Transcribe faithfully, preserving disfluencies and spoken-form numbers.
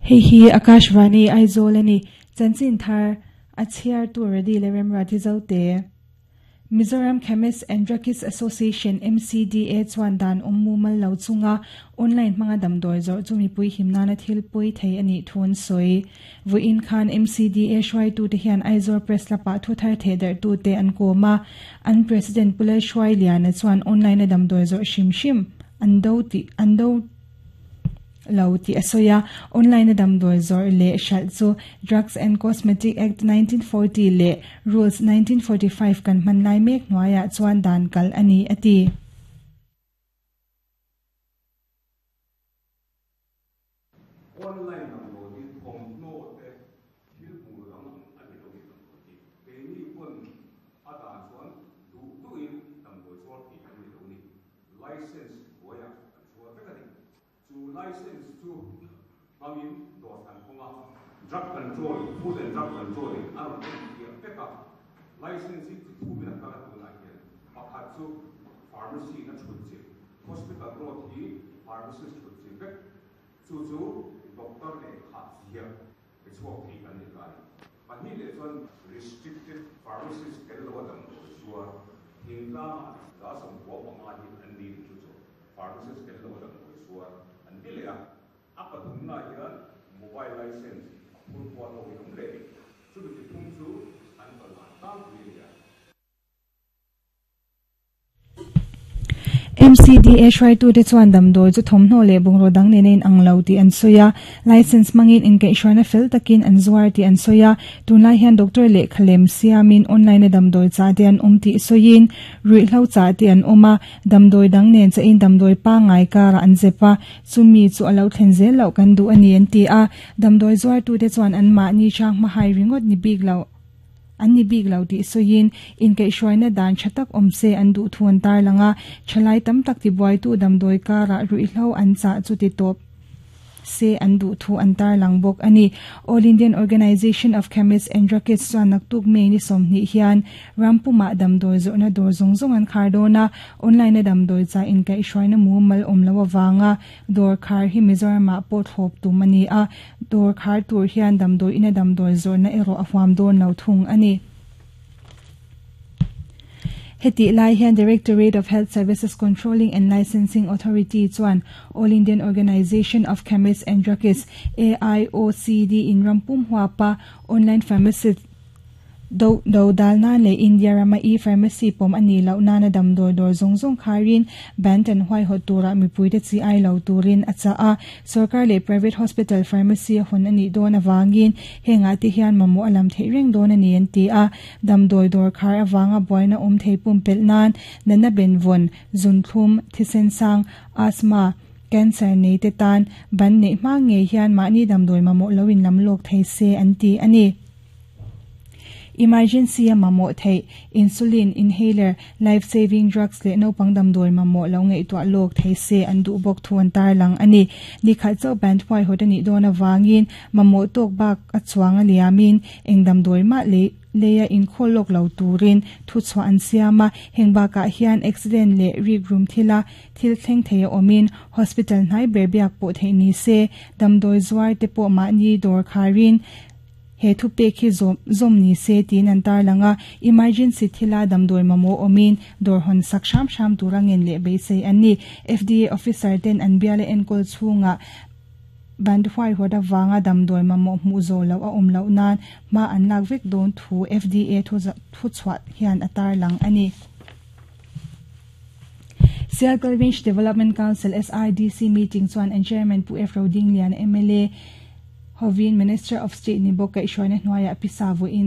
Hei hi Akashvani Aizawl ani chanchin thar a chhiar tur ready le remra ti zo te. Mizoram Chemists and Druggists Association M C D A chuan dan awm mumal lo chunga online hmanga damdawi zawrh chu mipui himnana thil pawi thei ani thun sawi. Vawiin khan M C D A hruaitute hian Aizawl Press Club-ah thu thar theh darh tute an kawm a. An president Pu Lalhruai Liana chuan online a damdawi zawrh hrim hrim an do tih an do lo tih a sawi a. Online a damdawi zawrh leh hralh chu Drugs and Cosmetic Act nineteen forty leh Rules nineteen forty-five kan hman lai mek hnuaiah chuan dan kal ani a ti. Online damdawi hi thawmhnaw te thil hmuh dang a ni lo ni damdawi hi. Keini pawn a dan chuan duh duhin damdawi zuar thei kan ni lo ni. License hnuaiah kan zuar vek a ni. Chu license chu hmangin dawr kan hawng a. Drug Control, Food and Drug Control in a rawn en fiah vek a. License hi chi thumin a kal a tunah hian. Pakhat chu pharmacy na thut chilh. Hospital Road hi pharmacist thut chilh vek. Chu chu doctor leh kha ziak pe chhuak thei kan ni ta ni. Pahnih leh chuan restricted pharmacist tel lo a damdawi zuar thingtlangah za sawmkua panga hi an ni chu chu pharmacist tel lo a damdawi zuar an ti leh a. A pathumna hian mobile license a phur kual ho hi awm leh ni. Chumi chi thum chu an kalhan tlangpui a ni a. M C D A hruaitute chuan damdawi chu thawmhnaw leh bungraw dang nen a inang lo tih an sawi a. License hmangin inkaihhruaina fel takin an zuar tih an sawi a. Tunlai hian doctor lehkha lem siamin online a damdawi chah te an awm tih sawiin ruihhlo chah te an awm a. Damdawi dang nen chahin damdawi pangngai karah an zep a. Chumi chu a lo thlen zel loh kan duh a ni an ti a. Damdawi zuartute chuan an mahni hrang hmahai ringawt ni bik lo an ni bik lo tih sawiin inkaihhruaina dan tha tak awm se an duh thu an tar lang a. Thalai tam tak tibuaitu damdawi karah ruihhlo an chah chu ti tawp se an duh thu an tar lang bawk a ni. All Indian Organisation of Chemists and Druggists chuan naktuk May ni sawmhnih hian rampumah damdawi zawrhna dawr zawng zawng an khar dawn a. Online a damdawi chah inkaihhruaina mumal awm lo awanga dawr khar hi Mizoramah pawh thlawp tum a ni a. Dawr khar tur hian damdawi ina damdawi zawrhna erawh a huam dawn lo thung a ni. Heti lai hian Directorate of Health Services Controlling and Licensing Authority chuan All Indian Organisation of Chemists and Druggists A I O C D in rampum huapa online pharmacy do do dal nan leh India rama e-pharmacy pawm ani loh nana damdawi dawr zawng zawng kharin ban tan huai hawt tura mipuite chi ai lo turin a cha a. Sarkar leh private hospital pharmacy a hun ani dawn awangin hengah te hian mamawh a lam theih reng dawn ani an ti a. Damdawi dawr khar awanga buaina awm thei pum pelh nan natna benvawn zunthlum thisen sang asthma cancer nei te tan ban neih hma ngei hian mahni damdawi mamawh lo in lam lawk thei se an ti ani. Emergency a mamawh theih insulin, inhaler, life saving drugs leh naupang damdawi mamawh lo ngaihtuah lawk thei se an duh bawk thu an tar lang ani. Ni khat chauh ban huai hawt ani dawn awangin mamawh tawk bak a chuang a liamin eng damdawi mah le leia inkhawl lawk lo turin thu chhuah an siam a. Heng bakah hian accident leh rik rum thila thil thleng thei a awmin hospital hnai ber biak pawh theih ni se. Damdawi zuar te pawh mahni dawr kharin he thu pek hi zawm zawm ni se tiin an tar lang a. Emergency thila damdawi mamawh awmin dawr hawn sak hram hram tura ngen leh beisei an ni. F D A officer ten an biala enkawl chhungah ban huai hawt awanga damdawi mamawh hmuh zawh loh a awm loh nan hma an lak vek dawn thu F D A thu thu chhuah hian a tar lang ani. Sialkal Range Development Council S R D C meeting chuan an chairman Pu F Rodinglian M L A hovin Minister of State ni bawk kaihhruaina hnuaiah pisa vawiin